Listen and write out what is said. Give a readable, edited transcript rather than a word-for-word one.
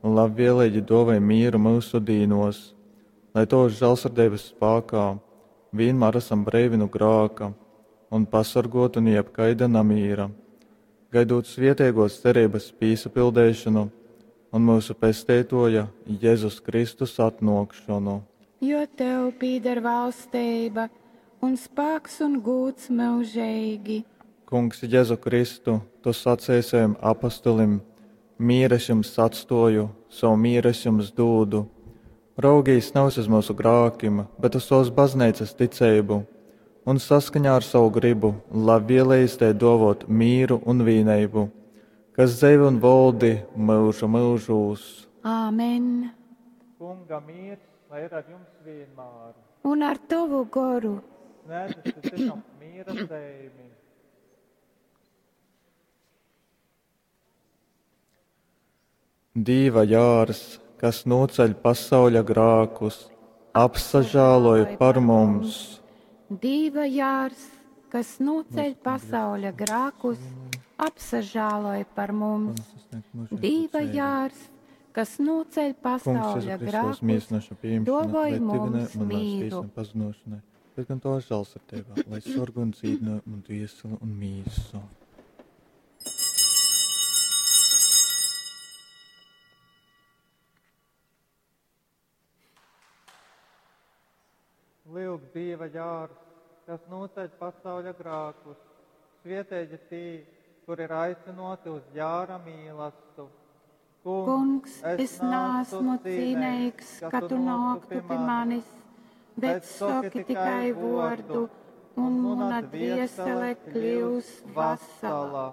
un labvieleigi dōvoj mīru myusu dīnōs, lai tovas žālsirdeibas spākā vīnmār asam breivi nu grāka un pasorgōti nu jebkaida namīra, gaidūt svieteigōs cereibas pīsapildeišonu un myusu Pesteitōja Jezus Kristus atnōkšonu. Jo tev pīdar valsteiba, un spāks un gūds myužeigi. Kungs Jezu Kristu, tu saceji sovim apostolim, Mīru es jums atstōju, sovu mīru es jums dūdu. Raugīs navys uz myusu grākim, bet uz sovas bazneicas ticeibu, un saskaņā ar sovu grybu labvielejas tai dōvōt mīru un vīneibu, kas dzeivi un voldi myužu myužūs. Āmen. Kunga mīrs, lai ir ar jums vienmēr. Un ar tovu goru. Snēdzit cytam mīra zeimi. Dīva jārs, kas nūceļ pasauļa grākus, apsažāloj par mums. Dīva jārs, kas nūceļ pasauļa grākus, apsažāloj par mums. Dīva jārs, kas nūceļ pasauļa grākus, dōvoj mums mīru. Bet gan tavā žālsirdībā, lai sorgo un dzīdina manu dvieseli un mīsu. Lūk, Dieva jārs, kas nūceļ pasauļa grākus, svietēji tī, kur ir aicināti uz jāra mīlastu. Kungs, es neesmu cīnīgs, ka tu nāktu pie manis, bet saki tikai vārdu, un mana dviesele kļūs vesela.